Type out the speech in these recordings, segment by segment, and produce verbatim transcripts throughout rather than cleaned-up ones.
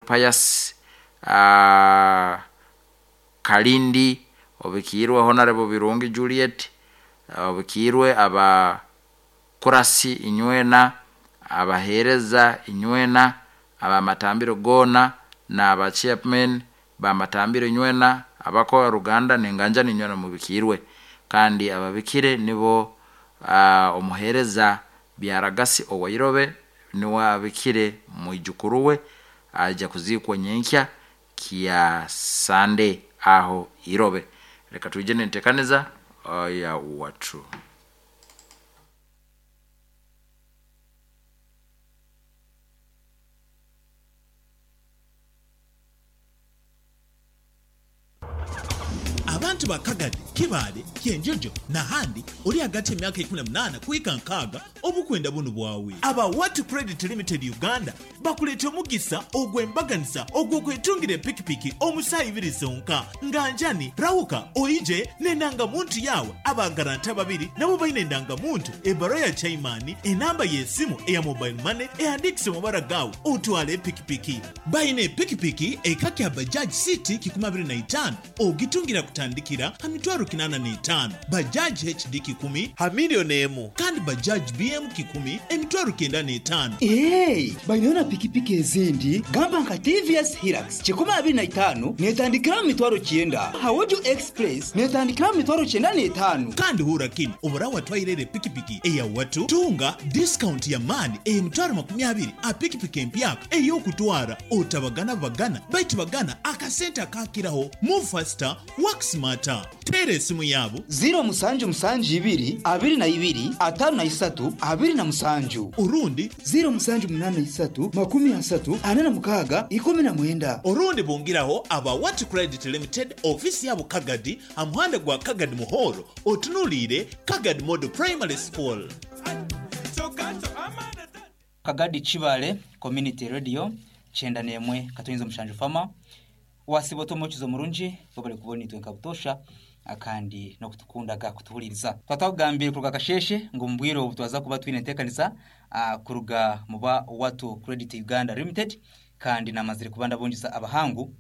Pius uh, Kalindi, obikiirwe Honorable Birungi Juliet, obikiirwe abakurasi inywena, abaheereza inywena, abamatambiro goona n'aba chairman bamatambiro inywena, abako ruganda nenganjani inywena mubikiirwe. Kandi ababikire nibo uh, omuheereza Byaragasi Owairobe niwe abikire mwijukuru we aja kuziikwa nyenkya kya Sunday aho Irobe. Reka tuije nentekaniza ya watu. Abantu ba Kagadi, Kibale, Kyenjojo n'ahandi ori hagati y'emyaka ikumi na munaana kuhika nkaaga obukwenda bunu bwawe. Aba Watu Credit Limited Uganda bakuleeta omugisa ogw'embaganisa ogw'okwetungira epikipiki omusaa ibiri zonka. Nganjani, rawuka, oije n'endangamuntu yawe. Abagaranta babiri nabo baine endangamuntu, ebbaruwa ya chaimani, enamba y'esimu eya mobile money ehandiikise mu mabara gaawe otwale epikipiki. Baine epikipiki eka kya Bajaj City kikumi abiri na itaano ogitungira kutandikira ha mitwaro kinana n'etaano, Bajaj H D kikumi ha milioni emu, kandi Bajaj B M kikumi emitwaro kenda n'etaano. Hey, baine na pikipiki ezindi gamba nka T V S Hilux kikumi abiri na itaano netandikira mu mitwaro kyenda, Hawojo Express netandikira mu mitwaro kyenda n'etaano. Kandi hura kini obura watwairere pikipiki eya watu tunga discount ya mani emitwaro makumi abiri a pikipiki empyaka ey'okutwara otabagana bagana baitu bagana akasente akakiraho. Move faster, work smarter. Tere esimu yabo ziro musanju musanju ibiri abiri na ibiri atano na isatu abiri na musanju, urundi ziro musanju munana isatu makumi asatu ana na mukaga ikumi na mwenda. Urundi bongeraho aba Watu Credit Limited ofisi yabo Kagadi amuhanda gwa Kagadi Muhoro otunulire Kagadi Model Primary School. Kagadi Kibale Community Radio chenda nemwe katonyeza mushanju fama wasiboto mukizo murungi bobale kubona itwe nkabutosha akandi no kutukundaga kutuhuliriza. Twatagambire kuruga kasheshe ngo mbwiro obutwaza kuba twine ntekanisa kuruga muba Watu Credit Uganda Limited kandi namazire kubanda bonjisa abahangu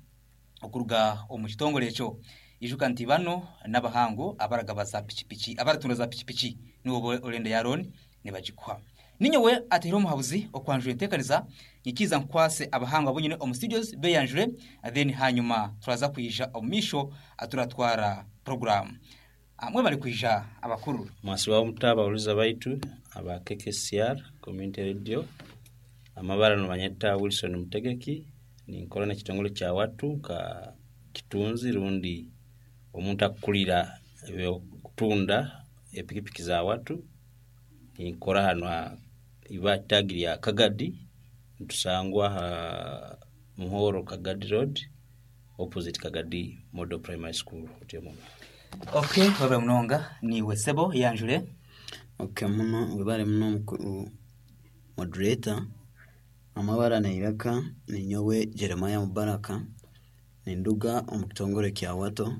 okuruga omu kitongole ekyo. Ijuka nti bano n'abahangu abaragaba za pichipichi abaratunda za pichipichi nibo olenda yaron nibagikwa. Ninyowe atero omuhabuzi okwanjura entekanisa nyikiza nkwase abahangu abonyine omu studios beyanjure, then hanyuma turaza kuyija omumisho aturatwara program. Amwe bali kuyija abakuru mwasi wa mutaba uliza baitu aba K K C R Community Radio amabara no banyeta Wilson Mutegeki ni nkola na kitongole kya watu ka kitunzi rundi omuntu akukulira ebyo kutunda epikipiki za watu. Nkora hano iba tagiri ya Kagadi ntusangwa ha Muhoro Kagadi Road opposite Kagadi Model Primary School otyo. Okay, baba munonga ni wesebo yanjure. Okay, muno webale muno moderator amabara na iraka ni nyowe Jeremiah Mubaraka ni nduga omukitongole kya Wato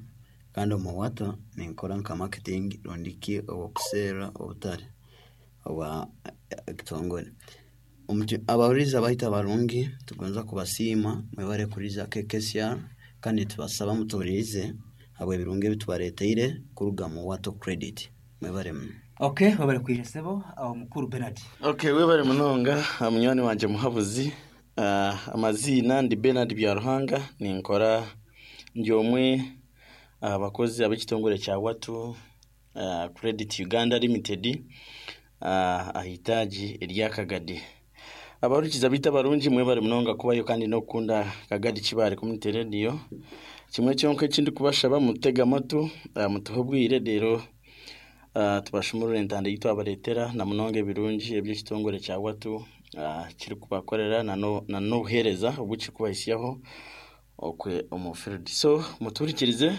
kandi omu Wato ninkora nka marketing rondiki okusera obutare oba kitongole. Abahuriza bahita barungi tugonza kubasiima mwebare kuriza K K C R kandi tubasaba mutorize abo ebirungi ebitwareteire kuruga mu Wato Credit mwebare muno. Okay, webare kwija sebo awo mukuru Bernard. Okay, webare munonga munywani wanje muhabuzi. Uh, amazina ndi Bernard Byaruhanga ninkora ndi omwe abakozi ab'ekitongole kya Watu uh, Credit Uganda Limited uh, ahitaji erya Kagadi. Abarukiza bita barungi mwebare munonga kubayo kandi nokunda Kagadi Kibale Community Radio. Kimwe kyonka ekindi kubashaba mutega amatu uh, mutuhe obwire rero uh, tubashumurure entanda yitwabaretera na munonga ebirungi eby'ekitongole kya Watu uh, kiri kubakorera na no na nobuhereza obuki kubahisyaho okwe omu field. So muturikirize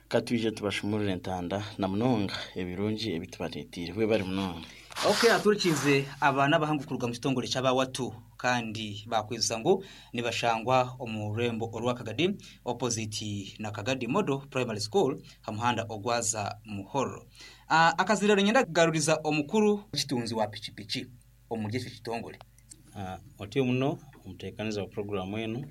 katwije tubashumurure entanda na munonga ebirungi ebitubaretire webare munonga. Okay, aturikize abana bahangu kuruga mu kitongole kyaba Watu kandi bakweza ngo nibashangwa omu rembo orwa Kagadi opposite na Kagadi Model Primary School hamuhanda ogwaza Muhoro. Uh, akazirero nyenda garuriza omukuru kitunzi wa pichipichi omuri ekyo kitongole. Uh, otyo muno omutekaniza wa programu eno